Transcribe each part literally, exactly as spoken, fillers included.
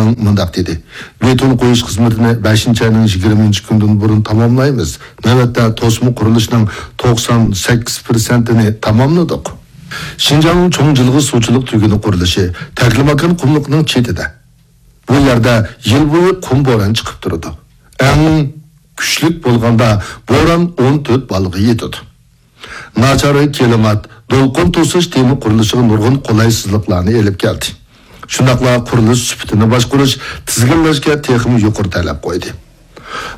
مۇنداق دېدى: بېتون قويۇش خىزمىتىنى بەشىنچى ئاينىڭ يىگىرمىنچى كۈنىدىن بۇرۇن تاماملايمىز. نۆۋەتتە توسما قۇرۇلۇشنىڭ توقسان سەككىز پىرسەنتىنى تاماملىدۇق. شىنجاڭ چوڭ جىلغا سۇچىلىق تۈگۈنى قۇرۇلۇشى تەكلىماكان قۇملۇقىنىڭ چېتىدە. بۇ يەردە يىل بويى قۇم بوران چىقىپ تۇرىدۇ. ئەڭ كۈچلۈك بولغاندا بوران ئون تۆت بالغا يېتىدۇ. ناچار كىلىمات دولقۇن توسۇش تېمى قۇرۇلۇشىغا نۇرغۇن قولايسىزلىقلارنى ئېلىپ كەلدى. شۇنداقلا قۇرۇلۇش سۈپىتىنى باشقۇرۇش، تىزگىنلەشكە تېخىمۇ يۇقىرى تەلەپ قويدى.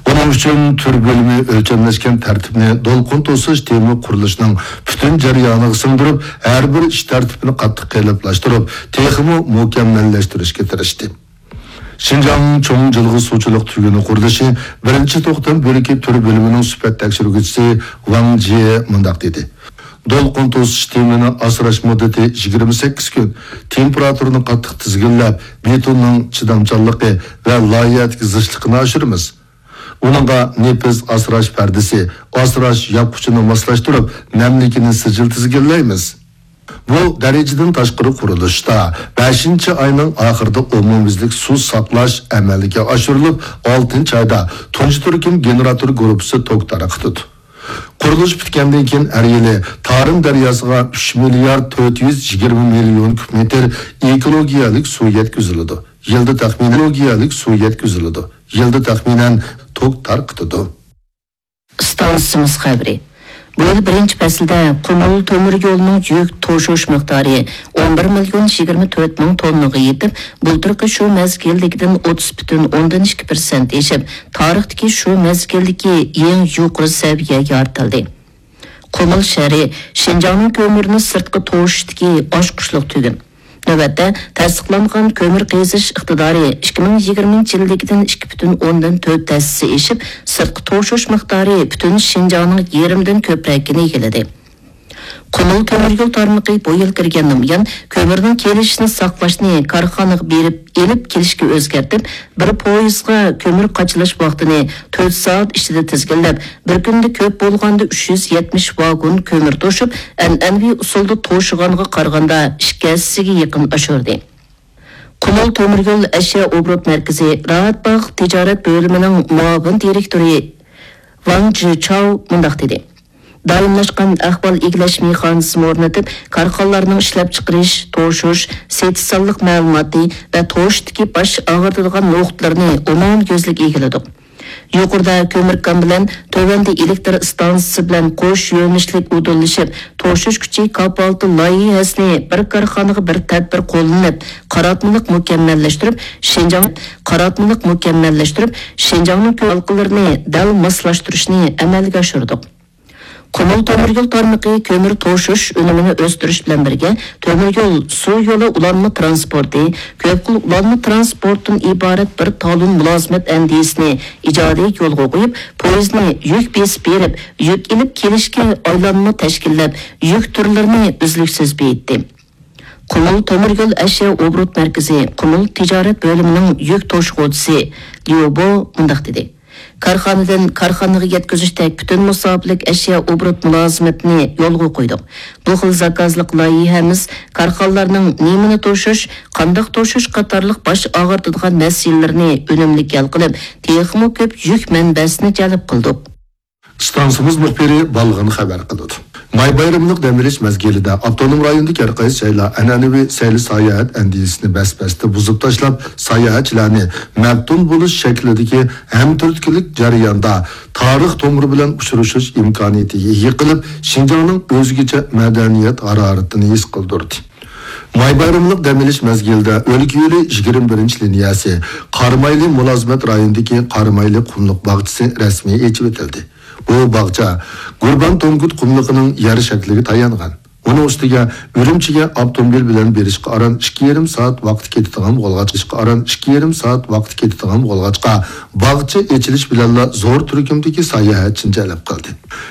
بۇنىڭ ئۈچۈن تۈر بۆلۈمى ئۆلچەملەشكەن تەرتىپنى دولقۇن توسۇش تېمى قۇرۇلۇشىنىڭ پۈتۈن جەريانىغا سىڭدۈرۈپ، ھەر بىر ئىش تەرتىپىنى قاتتىق قېلىپلاشتۇرۇپ، تېخىمۇ مۇكەممەللەشتۈرۈشكە تىرىشتى. شىنجاڭ چوڭ جىلغا سۇچىلىق تۈگۈنى قۇرۇلۇشى بىرىنچى توختام بۆلىكى تۈر بۆلۈمىنىڭ سۈپەت تەكشۈرگۈچىسى ۋاڭ جيې مۇنداق دېدى: دولقۇن توسۇش تېمىنى ئاسراش مۇددىتى يىگىرمە سەككىز كۈن. تېمپېراتۇرىنى قاتتىق تىزگىنلەپ، بېتوننىڭ چىدامچانلىقى ۋە لايىھەدىكى زىچلىقىنى ئاشۇرىمىز. ئۇنىڭغا نېپىز ئاسراش پەردىسى، ئاسراش ياپقۇچىنى ماسلاشتۇرۇپ، نەملىكىنى سىجىل تىزگىنلەيمىز. بۇ دەرىجىدىن تاشقىرى قۇرۇلۇشتا بەشىنچى ئاينىڭ ئاخىرىدا ئومۇميۈزلۈك سۇ ساقلاش ئەمەلگە ئاشۇرۇلۇپ، ئالتىنچى ئايدا تۇنجى تۈركۈم گېنېراتور گۇرۇپپىسى توك تارقىتىدۇ. قۇرۇلۇش پۈتكەندىن كېيىن ھەر يىلى تارىم دەرياسىغا ئۈچ مىليارد تۆت يۈز يىگىرمە مىليون كۇب مېتىر ئېكولوگىيەلىك سۇ يەتكۈزۈلىدۇ. يىلدا تەخمىنەن، ئېكولوگىيەلىك سۇ يەتكۈزۈلىدۇ. يىلدا تەخمىنەن توك تارقىتىدۇ. ئىستانسىمىز خەۋىرى. بۇ يىل بىرىنچى پەسىلدە قۇمۇل تۆمۈر يولىنىڭ يۈك توشۇش مىقدارى ئون بىر مىليون يىگىرمە تۆت مىڭ توننىغا يېتىپ، بۇلتۇرقى شۇ مەزگىلدىكىدىن ئوتتۇز پۈتۈن ئوندىن ئىككى پىرسەنت ئېشىپ، تارىختىكى شۇ مەزگىلدىكى ئەڭ يۇقىرى سەۋىيە يارىتىلدى. قۇمۇل شەھىرى شىنجاڭنىڭ كۆمۈرنى سىرتقا توشۇشتىكى ئاچقۇچلۇق تۈگۈن. نۆۋەتتە، تەستىقلانغان كۆمۈر قېزىش ئىقتىدارى ئىككى مىڭ يىگىرمىنچى يىلدىكىدىن ئىككى پۈتۈن ئوندىن تۆت ھەسسە ئېشىپ، سىرتقا توشۇش مىقدارى پۈتۈن شىنجاڭنىڭ يېرىمدىن كۆپرەكىنى ئىگىلىدى. قۇمۇل تۆمۈر يول تارمىقى بۇ يىل كىرگەندىن بۇيان، كۆمۈرنىڭ كېلىشىنى ساقلاشنى كارخانىغا بېرىپ ئېلىپ كېلىشكە ئۆزگەرتىپ، بىر پويىزغا كۆمۈر قاچىلاش ۋاقتىنى تۆت سائەت ئىچىدە تىزگىنلەپ، بىر كۈندە كۆپ بولغاندا ئۈچ يۈز يەتمىش ۋاگون كۆمۈر توشۇپ، ئەنئەنىۋى ئۇسۇلدا توشۇغانغا قارىغاندا ئىككى ھەسسىگە يېقىن ئاشۇردى. قۇمۇل تۆمۈر يول ئەشيا ئوبوروت مەركىزى راھەتباغ تىجارەت بۆلۈمىنىڭ مۇئاۋىن دىرېكتورى ۋاڭ جىچاۋ مۇنداق دېدى: دائىملاشقان ئەھۋال ئىگىلەش مېخانىزمى ئورنىتىپ، كارخانىلارنىڭ ئىشلەپچىقىرىش، توشۇش، سېتىش سانلىق مەلۇماتى ۋە توشۇشتىكى باش ئاغرىتىدىغان نۇقتىلىرىنى ئومۇميۈزلۈك ئىگىلىدۇق. يۇقىرىدا كۆمۈر كان بىلەن تۆۋەندە ئېلېكتر ئىستانسىسى بىلەن قوش يۆنىلىشلىك ئۇدۇللىشىپ توشۇش كۈچى كاپالىتى لايىھەسىنى بىر كارخانىغا بىر تەدبىر قوللىنىپ، قاراتمىلىق مۇكەممەللەشتۈرۈپ، شىنجاڭ، قاراتمىلىق مۇكەممەللەشتۈرۈپ، شىنجاڭنىڭ كۆپ ھالقىلىرىنى دەل ماسلاشتۇرۇشنى ئەمەلگە ئاشۇردۇق. قۇمۇل تۆمۈر يول تارمىقى كۆمۈر توشۇش ئۈنۈمىنى ئۆستۈرۈش بىلەن بىرگە، تۆمۈر يول، سۇ يولى ئۇلانما تىرانسپورتى، كۆپ خىل ئۇلانما تىرانسپورتتىن ئىبارەت بىر تالون مۇلازىمەت ئەندىزىسىنى ئىجادىي يولغا قويۇپ، پويىزنى يۈك بېسىپ بېرىپ، يۈك ئېلىپ كېلىشكە ئايلانما تەشكىللەپ، يۈك تۈرلىرىنى ئۈزلۈكسىز بېيىتتى. قۇمۇل تۆمۈر يول ئەشيا ئوبوروت مەركىزى قۇمۇل تىجارەت بۆلۈمىنىڭ يۈك توشۇغۇچىسى ليۇ بو مۇنداق دېدى: كارخانىدىن كارخانىغا يەتكۈزۈشتەك پۈتۈن مۇساپىلىك ئەشيا ئوبوروت مۇلازىمىتىنى يولغا قويدۇق. بۇ خىل زاكازلىق لايىھەمىز كارخانىلارنىڭ نېمىنى توشۇش، قانداق توشۇش قاتارلىق باش ئاغرىتىدىغان مەسىلىلىرىنى ئۈنۈملۈك ھەل قىلىپ، تېخىمۇ كۆپ يۈك مەنبەسىنى جەلپ قىلدۇق. ئىستانسىمىز مۇخبىرى بالغىن خەۋەر قىلىدۇ. ماي بايرىملىق دەم ئېلىش مەزگىلىدە ئاپتونوم رايوندىكى ھەر قايسى جايلار ئەنئەنىۋى سەيلە ساياھەت ئەندىزىسىنى بەس-بەستە بۇزۇپ تاشلاپ، ساياھەتچىلەرنى مەپتۇن بولۇش شەكلىدىكى ھەمتۈرتكىلىك جەرياندا تارىخ تومۇرى بىلەن ئۇچرىشىش ئىمكانىيىتىگە ئىگە قىلىپ، شىنجاڭنىڭ ئۆزگىچە مەدەنىيەت ھارارىتىنى ھېس قىلدۇردى. ماي بايرىملىق دەم ئېلىش مەزگىلىدە ئۆلكە يولى يىگىرمە بىرىنچى لىنىيەسى قارامايلى مۇلازىمەت رايونىدىكى قارامايلى قۇملۇق باغچىسى رەسمىي ئېچىۋېتىلدى. بۇ باغچە گۇربان تونگۇت قۇملۇقىنىڭ يەر شەكلىگە تايانغان. ئۇنىڭ ئۈستىگە ئۈرۈمچىگە ئاپتوموبىل بىلەن بېرىشقا ئاران ئىككى يېرىم سائەت ۋاقىت كېتىدىغان بولغاچقا، ئاران ئىككى يېرىم سائەت ۋاقىت كېتىدىغان بولغاچقا، باغچە ئېچىلىش بىلەنلا زور تۈركۈمدىكى ساياھەتچىنى جەلپ قىلدى.